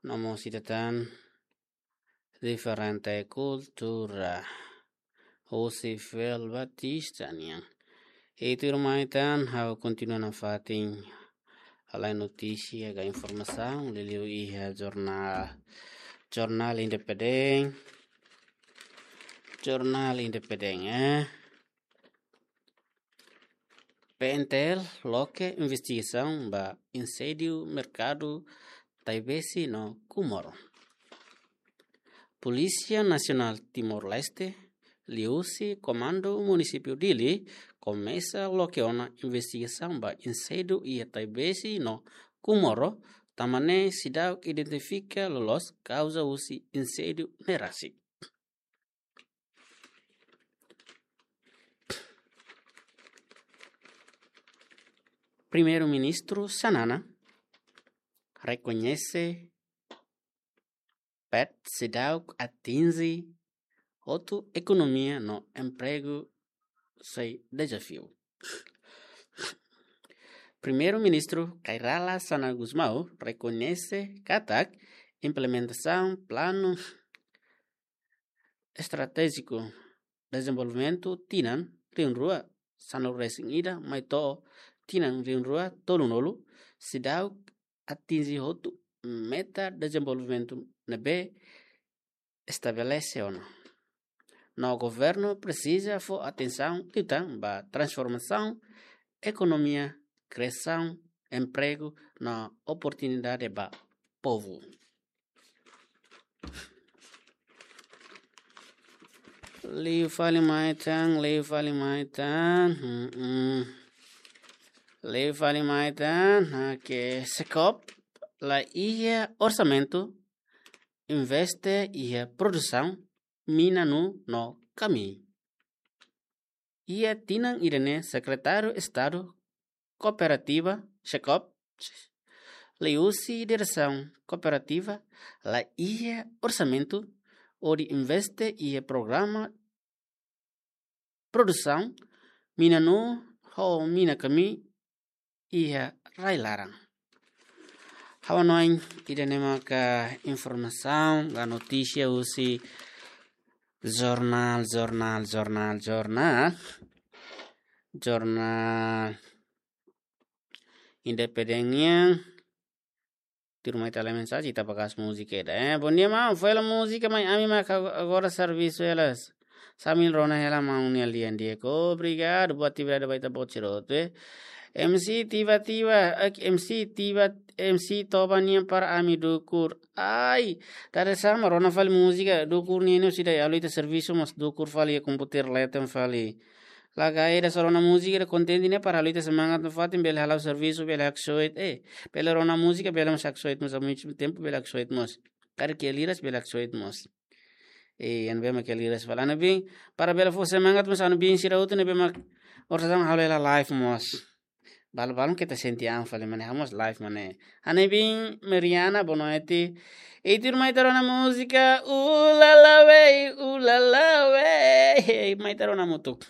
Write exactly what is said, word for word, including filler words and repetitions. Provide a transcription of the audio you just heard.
no mós ita tan diferente kultura. Husi Fel Batista nian. I tuirmai tan ha'u kontinua nafatin halai notísia ka informasaun liuliu iha jornál, jornál independente, jornál independente, eh. P N T L loke investigasaun ba inséndiu merkadu Taibesi no Comoro. Polísia Nasionál Timor-Leste liuhusi Komandu Munisípiu Dili komesa loke ona investigasaun ba inséndiu iha Taibesi no Comoro, tanba ne'e seidauk identifika loloos kauza husi inséndiu ne'e rasik. Primeiru-Ministru Xanana rekoñese P E T seidauk atinje hotu, ekonomia no empregu sei dezafiu. Primeiru-Ministru Kay Rala Xanana Gusmão rekoñese katak implementasaun Planu Estratéjiku Dezenvolvimentu tinan rihun rua sanulu-resin-ida mai to'o tinan rihun rua tolunulu seidauk atinje hotu meta dezenvolvimentu ne'ebé estabelese ona. No governu presiza fó atensaun liután ba transformasaun ekonomia, kriasaun empregu no oportunidade ba povu. Liu fali mai tan, liu fali mai tan. Hmm, hmm. Liu fali mai tan, oke, SECOP la iha orsamentu investe iha produsaun mina-nuu no kamii. Iha tinan ida-ne'e Sekretáriu Estadu Kooperativa, SECOP, liuhusi Diresaun Kooperativa la iha orsamentu hodi investe iha programa produsaun mina-nuu ho mina-kamii iha rai-laran. Ha'u hanoin ida-ne'e maka informasaun ka notísia husi jornál, jornál, jornál, jornál. Jornál Independente nian. Tuirmai ita haree mensajen, ita bakasa múzika ida. Eh, bom dia, maun. Fó hela múzika, maun, ami mak agora servisu hela. Sambil rona hela maun nia lian di'ak. Obrigadu, boa atividade ba ita-boot sira hotu, eh. M C Tiva Tiva, eh, M C Tiva, M C Toba nian para ami dukur. Ai, ita haree sama, rona fali múzika, dukur nian ne'e sida, halo ita servisu mós dukur fali, komputadór leten fali. Laga ida só rona múzika ida kontente ne'e para halo ita semangat nafatin bele hala'o servisu, bele haksoit, eh, bele rona múzika, bele mós haksoit mós, ao mesmo tempo bele haksoit mós. Karik iha liras bele haksoit mós. Eh, ami bele mak iha liras fali. Ami bin, para bele fó semangat mós ami bin sira hotu ne'ebé mak orsida halo hela live mós. Balu-balu keta sente an fali mane, ha'u mós live mane. Ami bin Meriana, boa noite. I tuirmai ita rona múzika, ulala wey, ulala wey. Mai ita rona hamutuk.